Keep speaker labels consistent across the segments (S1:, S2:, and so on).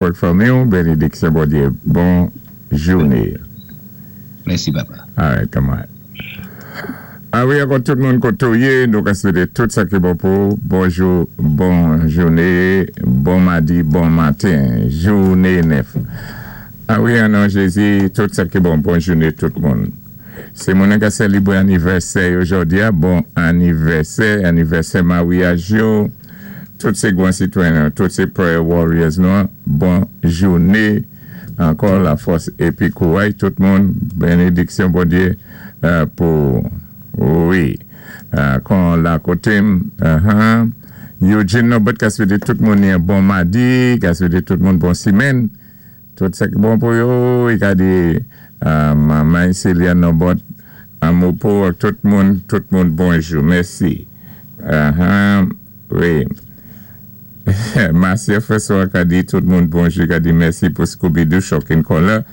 S1: Pou fanmi, bénédiksyon Bondyé. Bon jouné.
S2: Mèsi, papa.
S1: All right, come on. A wi, ankò tout moun koté ou yé, nou ka swété tout sa ki bon pou bonjou, bon jouné, bon madi, bon maten, jouné nèf. A wi, an non Jézi, tout sa ki bon, bon jouné tout moun. Sé moun ki sélébwé anivèsè jòdi a, bon anivèsè, anivèsè maryaj yo, tout sé gwan sitwayen, tout sé prayer warriors nou, bon jouné, ankò lafòs épi kouray tout moun, bénédiksyon Bondyé pou wi. Kon la koté Eugene Norbert ka swété tout moun yon bon madi, ka swété tout moun bon simenn. Tout sa ki bon pou yo, i ka di manman Celia Norbert, anmou pou tout moun bonjou. Mèsi. Wi. Marcia François ka di tout moun bonjou, ka di mèsi pou Scooby-Doo Shocking Color.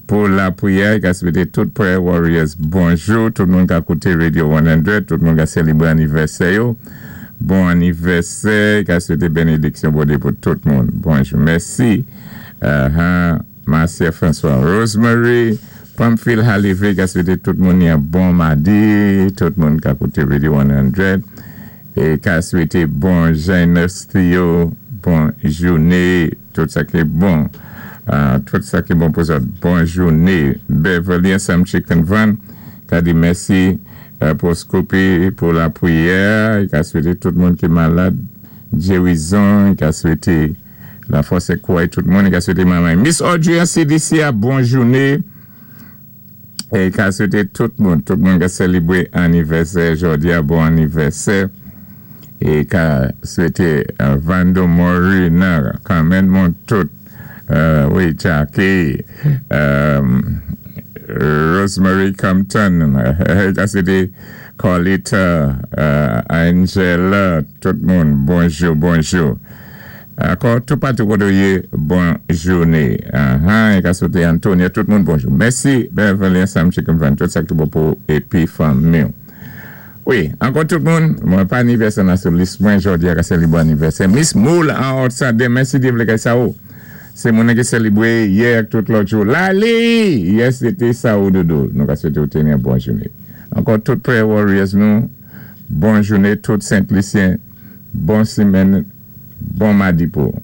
S1: Pou lapriyè, ka swété tout prayer warriors bonjou, tout moun ka kouté Radio 100, tout moun ka sélébwé anivèsè yo. Bon anivèsè, ka swété bénédiksyon Bondyé pou tout moun. Bonjou, mèsi. Marcia François, Rosemary, Pamphile Halivé, ka swété tout moun yon bon madi, tout moun ka kouté Radio 100, é ka swété bon Janus Theo, bon jouné, tout sa ki bon. Tout sa ki bon pou sa. Bon jouné. Beverly Sam Chicken Van, ka di mèsi pou Scoopy, pou lapriyè, ka swété tout moun ki malad gérizon, ka swété lafòs é kouray tout moun, ka swété manman. Miss Audrey an CDC a bon jouné. É ka swété tout moun ka sélébwé anivèsè jòdi a, bon anivèsè. É ka swété Vando Mori nan kanmenm moun tout, wi, Jackie, Rosemary Compton, ka swété Carlita, Angela, tout moun, bonjou, bonjou. Ankò, tout patou koté ou yé, bon jouné. Uh-huh, ka swété Antonia, tout moun bonjou. Mèsi, Beverly Sam Chicken Van, tout sa ki bon pou épi fanmi. Wi, ankò tout moun, mwen pa anivèsè nan sou lis mwen, jòdi a ka sélébwé anivèsè. Miss Moule an Haute demen si Dye vlé kay sa ou. Sé moun ki sélébwé yè ak tout lòt jou. Lali! Yes, sété sa ou doudou. Nou ka swété ou téni yon bon jouné. Ankò tout prayer warriors nou, bon jouné, tout Saint-Lucien, bon simenn, bon madi pou.